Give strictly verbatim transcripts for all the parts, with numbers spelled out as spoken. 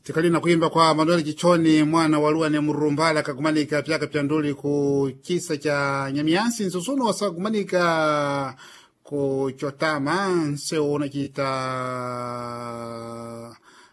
Tikali na kuimba kwa Manuel Chichoni mwana wa Lua ne Murumbala kakumanika pyaka pya nduli ku chisa cha Nyamiansi nsusuno wasakumanika ku Chotama nseu unachita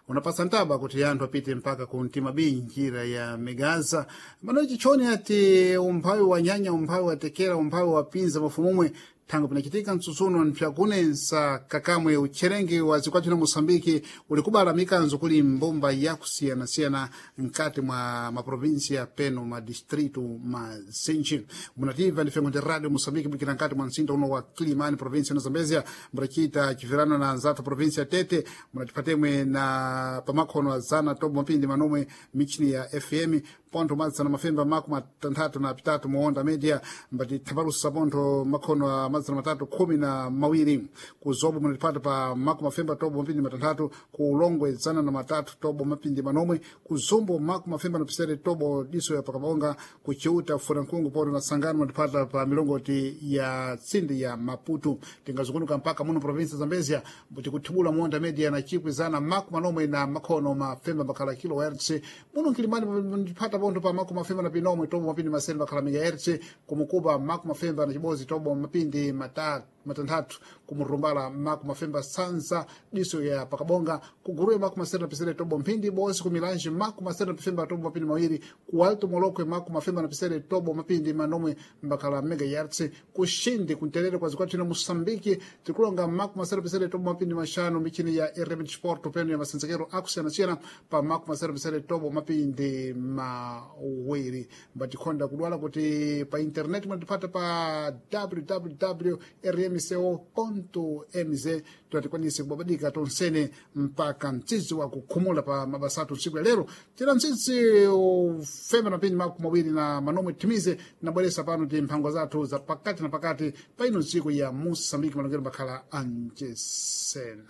unapasa ntaba kuti anthu apite mpaka ku mtima b njira ya Megaza. Manuel Chichoni ati umphawi wa nyanya, umphawi wa tekera, umphawi wa pinza mafumumwe thango pinachitika mtsutsuno mpyakunensa kakamwe utcherenge wa zikwathu na Moçambike uli kubala mikanzo kuli mbumba yakusiyanasiyana mkati mwa maprovinsia peno madistritu mazinji. Munativa ndi fengo ndi Radio Moçambike bwikira nkati mwa mzinda uno wa Kilimani, provinsia na Zambezia, mudacita chivirano na anzathu provinsia Tete, munatipatemwe na pamakhono azana tobo mapindi manomwe michini ya F M pontho madzana mafemba makumi atanthatu na pitatu muonda media mbati thapalusa pontho makhono a madzana matatu khumi na mawiri. Ku Zobo munatipata pa makumi mafemba tobo mapindi matanthatu, ku Ulongwe zana na matatu tobo mapindi manomwe, ku Zumbo makumi mafemba na pisere tobo diso ya pakabonga, ku Chiuta Furankungu pontho na Sangano munatipata pa milongoti ya tsindi ya Maputo. Tingazungunuka mpaka muno provinsi Zambezia tikuthibula muonda media na chikwi zana makumi manomwe na makhono mafemba makhala kilohertz. Muno Nkilimani munatipata pontho pa makumi mafemba na pinomwe tobo mapindi masere makhala megahertz, kumukuba makumi mafemba na chibozi tobo mapindi mata matanthatu, kumurumbala makumi mafemba sanza diso ya pakabonga, kuguruwe makumi masere na pisere tobo mphindi bosi, kumilanji makumi masere na pifemba tobo mapindi mawiri, ku Alto Molokwe makumi mafemba na pisere tobo mapindi manomwe mbakhala megahertz, kushindi kunterere kwa zikwathu na Moçambike tikulonga makumi masere na pisere tobo mapindi mashanu michini ya R M Sport peno ya masenzekero akusiyanasiyana pa makumi masere na pisere tobo mapindi mawiri. Mbatikhonda kudwala kuti pa internet munatipata pa w w w r m c o mz tiwatikwanise kubabadika tonsene mpaka mtsitsi wa kukhumula pa mabasa athu ntsiku ya lero. Tira mtsitsi ufemba mapindi makumi mawiri na manomwe timize nabweresa pano ti mphango zathu za pakati na pakati pa ino ntsiku ya Moçambike malongero makhala anjesena.